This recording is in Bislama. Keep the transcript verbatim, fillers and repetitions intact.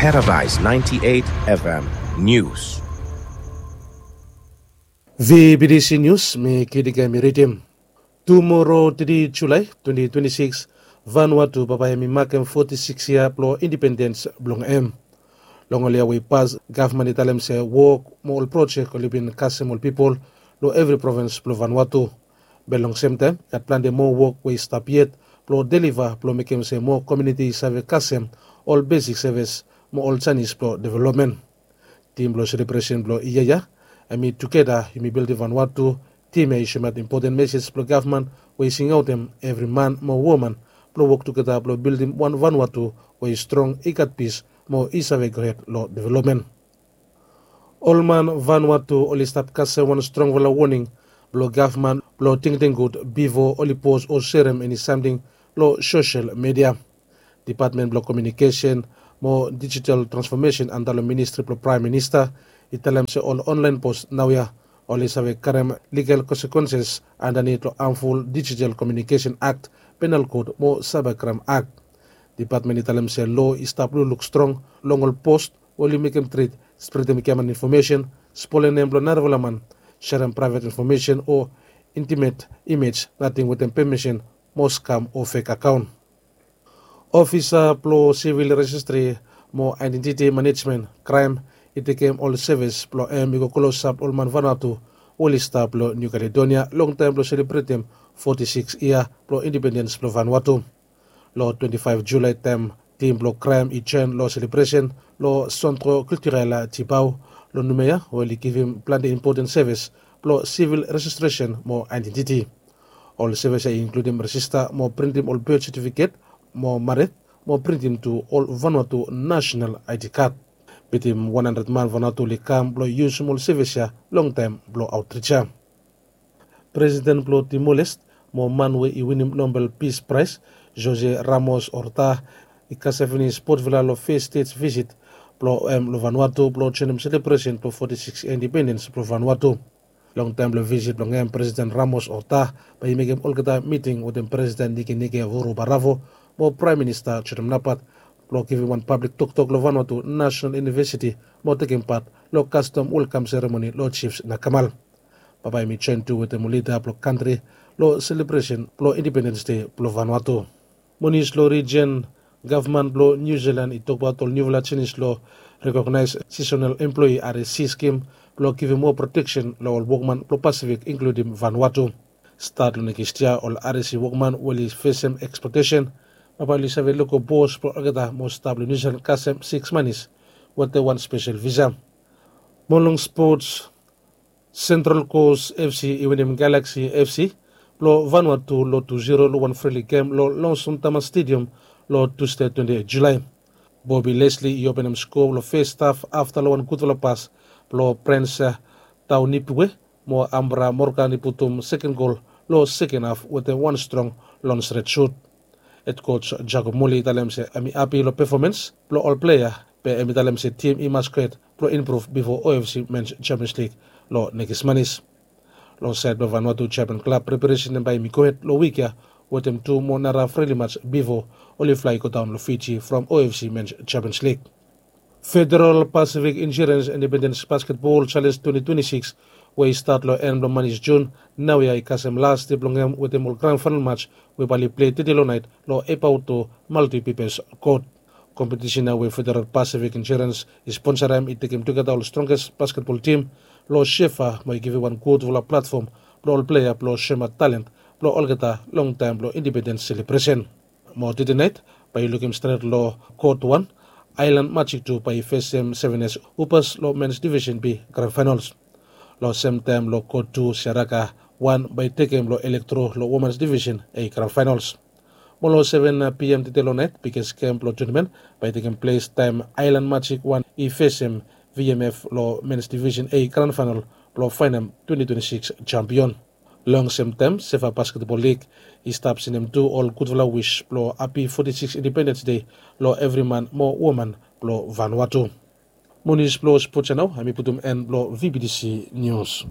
Paradise ninety-eight F M News. V B D C News, mi Kidika mi ridim. Tumoro, tri Julae twenty twenty-six, Vanuatu bambae hemi makem foti sikis yia blong indipendens blong hem. Long ol yia we i pas, gavman i talem se wok mo ol projek oli bin kasem ol pipol long evri provins blong Vanuatu. Be long semtaem, gat plante moa wok we i stap yet blong deliva blong mekem se moa komuniti i save kasem ol besik sevis mo ol janis blong developmen. Tim blong selebresen blong yia ya, hemi tugeta yumi bildim Vanuatu. Tim ya i soemaot impoten mesej blong gavman we i singaotem evri man mo woman blong wok tugeta blong bildim wan Vanuatu we i strong, i gat pis mo i save gohed long developmen. Ol man Vanuatu oli stap kasem wan strongfala woning blong gavman blong tingting gud bifo oli pos o serem eni samting long sosel midia. Dipatmen blong Komiunikesen mo Dijital Transfomesen anda long Ministri blong Praem Minista i talem se ol onlaen pos naoia oli save karem ligal konsekwenses andanit long hamful Dijital Komiunikesen Akt, Penal Kod mo Saeba Kraem Akt. Dipatmen i talem se loa i stap lukluk strong long ol pos we oli mekem trit, spredem giaman infomesen, spolem nem blong narafala man, serem praevet infomesen o intimet imej nating wetem pemisen mo skam o fek akaon. Ofisa blong Sivil Rejistri mo Aedentiti Manejmen, kraem, i tekem ol sevis blong hem i go klosap ol man Vanuatu we oli stap long Niu Kaledonia long taem blong selebretem foti sikis yia blong indipendens blong Vanuatu. Long twenti faef Julae taem tim blong kraem i joen long selebresen long Sentro Kiltirel Tibau long Noumea, we oli givim plante impoten sevis blong sivil rejistresen mo aedentiti. Ol sevis ya i inkludim rejista mo printim ol bet setifiket mo mared, mo printim tu ol Vanuatu nasenal I D kad. Bitim wan handred man Vanuatu oli kam blong yusum ol sevis ya long taem blong aotrij ya. Presiden blong Timor-Leste mo man we i winim Nobel Peace Prize, José Ramos-Horta, i kasem finis Port Vila long fes stet visit blong hem long Vanuatu blong joenem selebresen blong foti sikis indipendens blong Vanuatu. Long taem blong visit blong hem, Presiden Ramos-Horta bae i mekem olgeta miting wetem Presiden Nikenike Vurobaravu mo Praem Minista Jotam Napat blong givim wan pablik toktok long Vanuatu Nasenal Univesiti mo tekem pat long kastom welkam seremoni long Jifs Nakamal. Bambae hemi joen tu wetem ol lida blong kantri long selebresen blong Indipendens Dei blong Vanuatu. Mo nius long rijen, gavman blong Niu Silan i tokbaot ol niufala jenis long rekognaes sisonal emploe, R S E, skim blong givim moa proteksen long ol wokman blong Pasifik, inkludim Vanuatu. Stat long nekis yia, ol R S E wokman we oli fesem eksplotesen bambae oli save lego bos blong olgeta mo stap long Niu Silan kasem siks manis wetem wan spesel visa. Mo long spots, Central Coast F C i winim Galaxy F C blong Vanuatu long tu ziro long wan frili gem long Longson Tama Stadium long Tusde twenti eit Julae. Bobby Leslie i openem skoa long fes haf afta long wan gudfala pas blong Prince Taunipiwe, mo Ambra Morgan i putum seken gol long seken haf wetem wan strong long stret sut. Hed koj Jacob Muli i talem se hemi hapi long pefomans blong ol plea, be hemi talem se tim i mas gohed blong impruv bifo O F C Mens Champions League long nekis manis. Long saed blong Vanuatu, Japan klab preparesen blong hem bae hemi gohed long wik ya wetem tu moa nara frili mats bifo oli flae i godaon long Fiji from O F C Mens Champions League. Federal Pacific Insurance Independence Basketball Challenge twenti twenti sikis, we i stat long en blong manis Jun, naoia i kasem las dei blong hem wetem ol gran faenal mats we bae oli plei tede long naet long Epauto Multipurpose Court. Kompetisen ya we Federal Pacific Insurance i sponsorem i tekem tugeta ol strongest basketball tim long Shefa mo i givim wan gudfala platfom blong ol plea blong soemaot talent blong olgeta long taem blong indipendens selebresen. Mo tede naet bae yu lukim stret long kot wan, Island Magic tu bae i fesem Seven S Hoopers long Men's Division B Grand Finals. Long semtaem long kot tu, Siaraka wan bae i tekem long Elektro long Women's Division A Grand Finals. Mo long seven P M tede long naet, biges gem blong tunamen bae i tekem ples taem Island Magic wan i fesem V M F long Men's Division A Grand Final blong faenem twenti twenti sikis jampion. Long semtaem, Sefa Basketball League i stap sendem tu ol gudfala wis blong hapi foti sikis Indipendens Dei long evri man mo woman blong Vanuatu. Mo nius blong spots ya nao hemi putum en blong V B D C Nius.